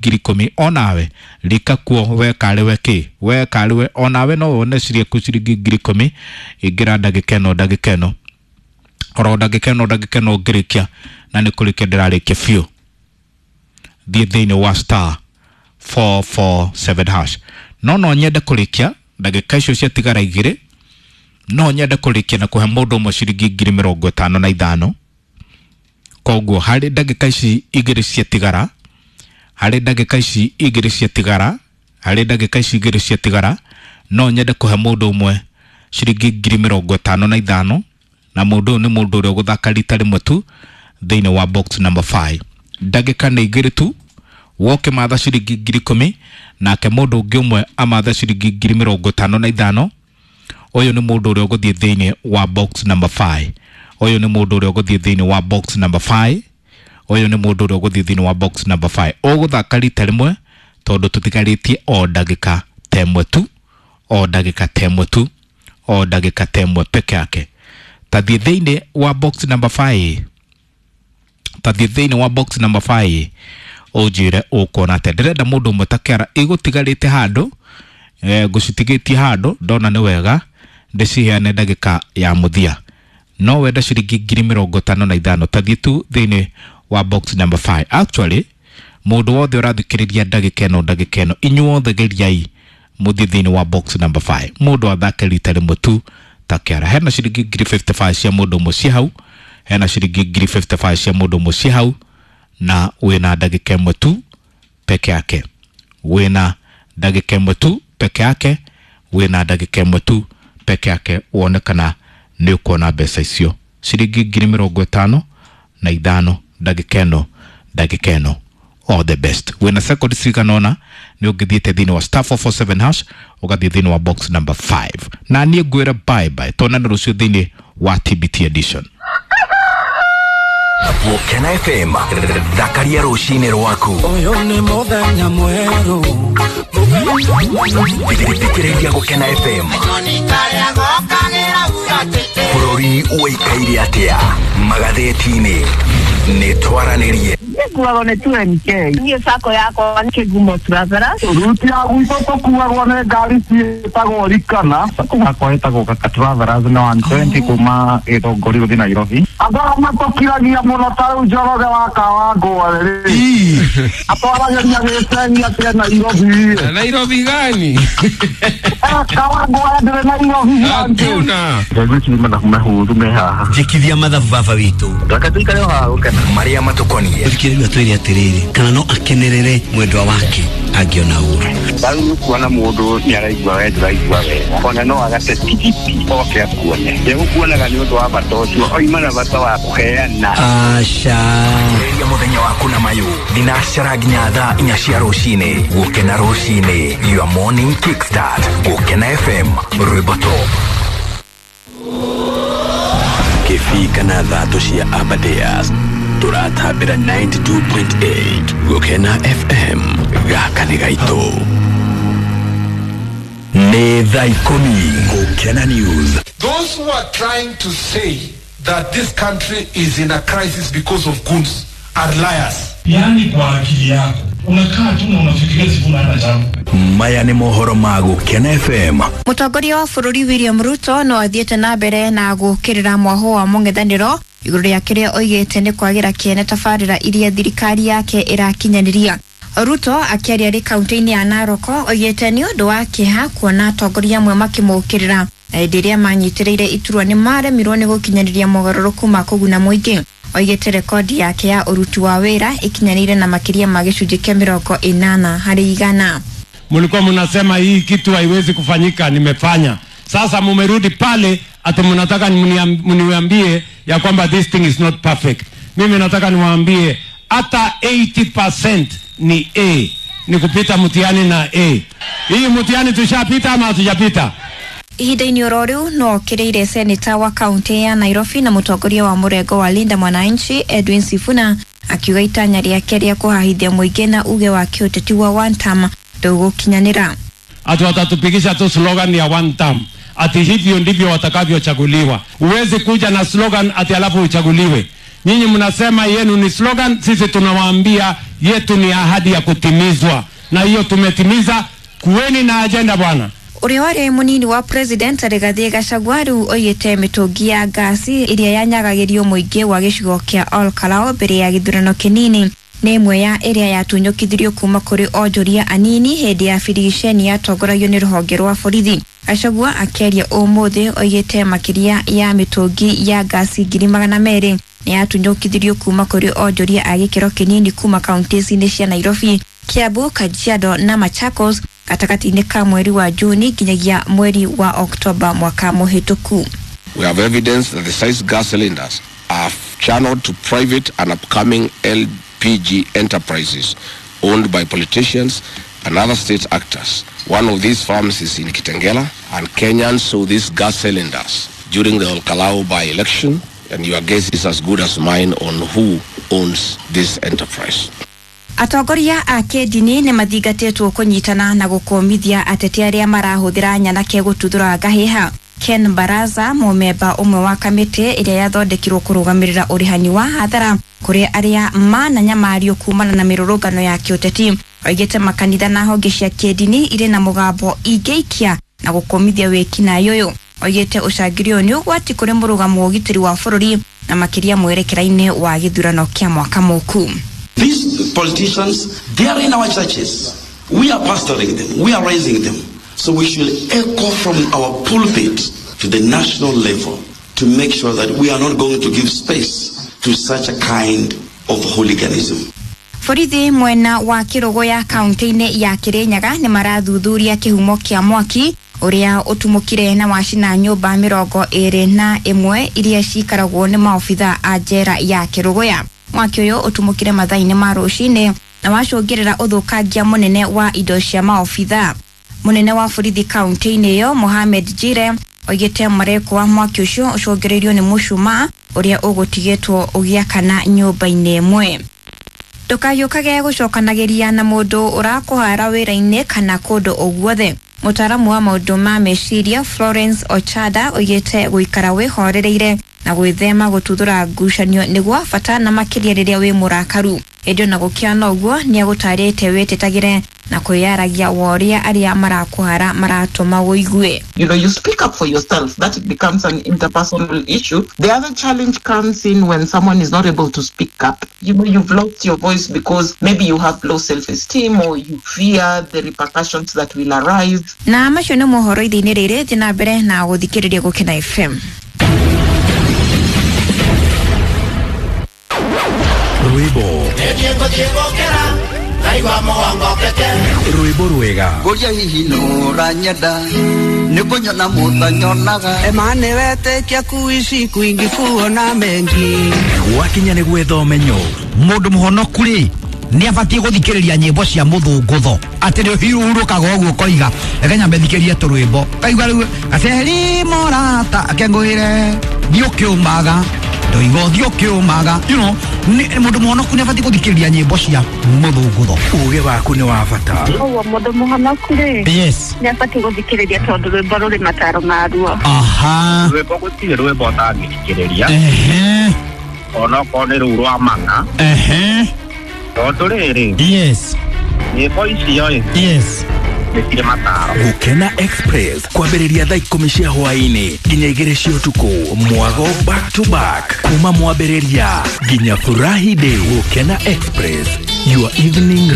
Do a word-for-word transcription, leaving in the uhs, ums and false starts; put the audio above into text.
Ngiri ikũmi onawe rika kuo we karĩwe kĩ we karĩwe onawe no wone ciringi ciringi ngiri ikũmi. Ingĩra ndagĩka ĩno, ndagĩka ĩno, oro ndagĩka ĩno, ndagĩka ĩno ngĩrĩkia, na nĩ kũrĩkia ndĩrarĩkia biũ. Thiĩ thĩinĩ wa star four four seven hash. No no nyende kũrĩkia ndagĩka icio ciatigara igĩrĩ, no nyende kũrĩkia na kũhe mũndũ ũmwe ciringi ngiri mĩrongo ĩtano na ithano. Koguo harĩ ndagĩka ici igĩrĩ ciatigara, harĩ ndagĩka ici igĩrĩ ciatigara, harĩ ndagĩka ici igĩrĩ ciatigara, no nyende kũhe mũndũ ũmwe ciringi ngiri mĩrongo ĩtano na ithano, na mũndũ ũyũ nĩ mũndũ ũrĩa ũgũthaka rita rĩmwe tu thĩinĩ wa box number five. Ndagĩka nĩ igĩrĩ tu, woke matha ciringi ngiri ikũmi, nake mũndũ ũngĩ ũmwe amatha ciringi ngiri mĩrongo ĩtano na ithano. Ũyũ nĩ mũndũ ũrĩa ũgũthiĩ thĩinĩ wa box number five. Ũyũ nĩ mũndũ ũrĩa ũgũthiĩ thĩinĩ wa box number five. Ũyũ nĩ mũndũ ũrĩa ũgũthiĩ thĩinĩ wa box number five. Ũgũthaka rita rĩmwe tondũ tũtigarĩtie o ndagĩka ta ĩmwe tu, o ndagĩka ta ĩmwe tu, o ndagĩka ta ĩmwe peke yake. Tathiĩ thĩinĩ wa box number five, tathiĩ thĩinĩ wa box number five, ũnjĩre ũkuona atĩa. Ndĩrenda mũndũ ũmwe ta kĩara ĩgũtigarĩte handũ, eh, ngũcitigĩtie handũ ndona nĩ wega ndĩciheane ndagĩka ya mũthia. No wenda ciringi ngiri mĩrongo ĩtano na ithano, tathiĩ tu thĩinĩ wa box number five. Actually, mũndũ wothe ũrathikĩrĩria ndagĩka ĩno, ndagĩka ĩno, inyuothe geriai mũthiĩ thĩinĩ wa box number five, mũndũ athake rita rĩmwe tu ta kĩara. Hena ciringi ngiri mĩrongo ĩtano na ithano cia mũndũ ũmwe ciĩ hau, hena ciringi ngiri mĩrongo ĩtano na ithano cia mũndũ ũmwe ciĩ hau, na wĩna ndagĩka ĩmwe tu peke yake, wĩna ndagĩka ĩmwe tu peke yake, wĩna ndagĩka ĩmwe tu peke yake, wone kana nĩ ũkuona mbeca icio ciringi ngiri mĩrongo ĩtano na ithano ndagĩka ĩno, ndagĩka ĩno. All the best. Wĩna second cigana ũna nĩ ũngĩthiĩte thĩinĩ wa star four four seven hash, ũgathiĩ thĩinĩ wa box number five, na niĩ ngwĩra bye bye, tuonane rũciũ thĩinĩ wa T B T edition. Gũkena F M, thakaria rũcinĩ rwaku. Ũyũ nĩ mũthenya mwerũ. Thikĩrĩria Gũkena F M. Bũrũri ũikaire atĩa magathĩti-inĩ? Nĩ twaranĩrie. Nĩnguagwo nĩ two M K. Niĩ sacco yakwa nĩ Kĩgumo Travelers. Ruti ya gwitũ tũkuagwo nĩ ngari ciĩtagwo Rikana. Sacco yakwa ĩtagwo Kaka Travelers na one twenty kuma Gĩthũngũri gũthiĩ Nairobi. Andũ arĩa matũkiragia mũno ta rĩu Njoroge wa Kawangware rĩ, atwaragĩria gĩcegi atĩ Nairobi. Nairobi gani? Kawangware ndĩrĩ Nairobi. Hakuna. Ngwĩciria mathabu mahũthũ me haha. Njĩkithia mathabu baba witũ. Reke tũikare o haha gũkena. Marĩa matũkoniĩ. Thikĩrĩria, twĩre atĩrĩrĩ, kana no akenerere mwendwa wake angĩona ũru? Rĩu nĩ kuona mũndũ nĩ araigua we ndũraigua wega, ona no agate tigiti oke akuone. Ndegũkuonaga nĩ ũndũ wa bata ũcio oima na bata wa kũheana. Aca. Ambĩrĩria mũthenya waku na mayũ thinacara nginya thaa inya cia rũcinĩ. Gũkena rũcinĩ, your morning kickstart. Gũkena F M, rwĩmbo top. Kĩbii kana thatũ cia Aberdares, tũratambĩra ninety-two point eight Gũkena F M. Gaka nĩ gaitũ. Nĩ thaa ikũmi. Gũkena News. Those who are trying to say that this country is in a crisis because of goons are liars. Yaani kwa akili yako unakaa tu na unafikiria Sifuna hana jambo. Maya nĩ mohoro ma Gũkena F M. Mũtongoria wa bũrũri William Ruto no athiĩte na mbere na gũkĩrĩra mwahũ wa mũng'ethanĩro igũrũ rĩa kĩrĩa oigĩte nĩ kwagĩra kĩene tabarĩra iria thirikari yake ĩrakinyanĩria. Ruto akĩaria arĩ kaunti-inĩ ya Narok oigĩte nĩ ũndũ wa kĩeha kuona atongoria amwe makĩmũkĩrĩra, na hĩndĩ ĩrĩa manyitĩrĩire iturwa nĩ maremirwo nĩ gũkinyanĩria mogarũrũku ma kũguna mũingĩ. Oigĩte rekodi yake ya ũruti wa wĩra ĩkinyanĩire na makĩria ma gĩcunjĩ kĩa mĩrongo ĩnana harĩ igana. Mlikuwa mnasema hii kitu haiwezi kufanyika, nimefanya. Sasa mumerudi pale ati mnataka mniambie ya kwamba this thing is not perfect. Mimi nataka niwaambie hata eighty percent ni A, ni kupita mtihani na A. Hii mtihani tushapita ama hatujapita? Ihinda-inĩ oro rĩu no okĩrĩire seneta wa kaunti ya Nairobi na mũtongoria wa mũrengo wa Linda Mwananchi Edwin Sifuna, akiuga itanya rĩake rĩa kũhahithia mũingĩ na uge wa kĩũteti wa one term ndũgũkinyanĩra. Ati watatupigisha tu slogan ya one term, ati hivyo ndivyo watakavyochaguliwa. Huwezi kuja na slogan ati alafu uchaguliwe. Nyinyi mnasema yenu ni slogan, sisi tunawaambia Yetu ni ahadi ya kutimizwa, na hiyo tumetimiza. Kuweni na agenda bwana. Ũrĩa warĩ mũnini wa president Rigathĩ Gachagua rĩu oigĩte mĩtũngi ya ngasi ĩrĩa yanyagagĩrio mũingĩ wa gĩcigo kĩa Ol Kalou mbere ya gĩthurano kĩnini nĩ ĩmwe ya ĩrĩa yatunyũkithirio kuma kũrĩ onjoria anini hĩndĩ ya birigiceni yatongoragio nĩ rũhonge rwa borithi. Gachagua akĩaria ũmũthĩ oigĩte makĩria ya mĩtũngi ya ngasi ngiri magana merĩ nĩ yatunyũkithirio kuma kũrĩ onjoria a gĩkĩro kĩnini kuma kaunti-inĩ cia Nairobi, Kiambu, Kajiado na Machakos gatagatĩ-inĩ ka mweri wa Juni nginyagia mweri wa Oktoba mwaka mũhĩtũku. We have evidence that the size gas cylinders are channeled to private and upcoming L P G enterprises owned by politicians and other state actors. One of these farms is in Kitengela, and Kenyans saw these gas cylinders during the Ol Kalou by-election, and your guess is as good as mine on who owns this enterprise. Atongoria a kĩndini nĩ mathingatĩtwo kũnyitana na gũkũmithia ateti arĩa marahũthĩra nyanake gũtuthũra ngahĩha. Ken Baraza, mũmemba ũmwe wa kamĩtĩ ĩrĩa yathondekirwo kũrũgamĩrĩra ũrĩhani wa hathara kũrĩ arĩa mananyamario kumana na mĩrũrũngano ya kĩũteti, oigĩte makanitha na honge cia kĩndini irĩ na mũgambo ingĩikia na gũkũmithia wĩkinaĩ ũyũ. Oigĩte ũcangĩri ũyũ nĩ ũgwati kũrĩ mũrũgamo wa ũgitĩri wa bũrũri na makĩria mwerekera-inĩ wa gĩthurano kĩa mwaka mũku. These politicians, they are in our churches. We are pastoring them. We are raising them. So we should echo from our pulpit to the national level to make sure that we are not going to give space to such a kind of hooliganism. Borithi mwena wa Kĩrũgũya kaunti-inĩ ya Kĩrĩnyaga nĩ marathuthuria kĩhumo kĩa mwaki ũrĩa ũtumũkire na wacina nyũmba mĩrongo ĩrĩ na ĩmwe iria cikaragwo nĩ maobitha a njera ya Kĩrũgũya. Mwaki ũyũ ũtumũkire mathaa-inĩ ma rũcinĩ na wacũngĩrĩra ũthũkangia mũnene wa indo cia maobitha. Mũnene wa borithi kaunti-inĩ ĩyo Mohamed Jire oigĩte mareko wa mwaki ũcio ũcũngĩrĩirio nĩ mũcumaa ũrĩa ũgũtigĩtwo ũgĩakana nyũmba-inĩ ĩmwe. Ndũkayũkage gũcokanagĩria na mũndũ ũrakũhara wĩra-inĩ kana kũndũ o guothe. Mũtaaramu wa maũndũ ma meciria Florence Ochada oigĩte gũikara wĩhorereire na gwĩthema gũtuthũra ngucanio nĩ gwa bata na makĩria rĩrĩa wĩ mũrakaru. Ĩndĩ ona gũkĩana ũguo nĩagũtarĩte wĩtetagĩre na kwĩyaragia wa ũrĩa arĩa marakũhara maratũma ũigue. You know, you speak up for yourself. That it becomes an interpersonal issue. The other challenge comes in when someone is not able to speak up. You know, you've lost your voice because maybe you have low self-esteem or you fear the repercussions that will arise. Na macio nĩ mohoro ithe-inĩ rĩrĩ, thiĩ na mbere na gũthikĩrĩria Gũkena F M. Rwĩmbo rwĩmbo rwega ngũria hihi nũranyenda nĩ kũnyona mũtanyonaga emane wetĩkia kuici kwingi kuona mengi gwakinya nĩ gwetha ũmenyo. Mũndũ mũhonoku rĩ nĩ abatiĩ gũthikĩrĩria nyĩmbo cia mũthũngũtho atĩ nĩ ũhurũkaga ũguo ũkoiga reke nyambe thikĩrie tũrwĩmbo kaigua rĩu gaceri mũrata akengũĩre thiĩ ũkĩũmaga ndoiga ũthiĩ ũkĩũmaga, you know, mũndũ mũhonoku nĩ abatiĩ gũthikĩrĩria nyĩmbo cia mũthũngũtho. Ũgĩ waku nĩ wa bata. Ũguo mũndũ mũhonoku rĩ, yes, nĩ abatiĩ gũthikĩrĩria tondũ rwĩmbo rũrĩ mataro maruo. Aha, rwĩmbo gũtirĩ rwĩmbo ũtangĩthikĩrĩria. Ehe, onokorwo nĩ rũu rwa mang'a. Ehe, tondũ rĩrĩ, yes, nyĩmbo icio ĩ, yes, nĩ mataro. Gũkena Express kwambĩrĩria thaa ikũmi cia hwaĩ-inĩ nginya igĩrĩ cia ũtukũ, mwago back to back kuma mwambĩrĩria nginya Furahi Day. Gũkena Express, your evening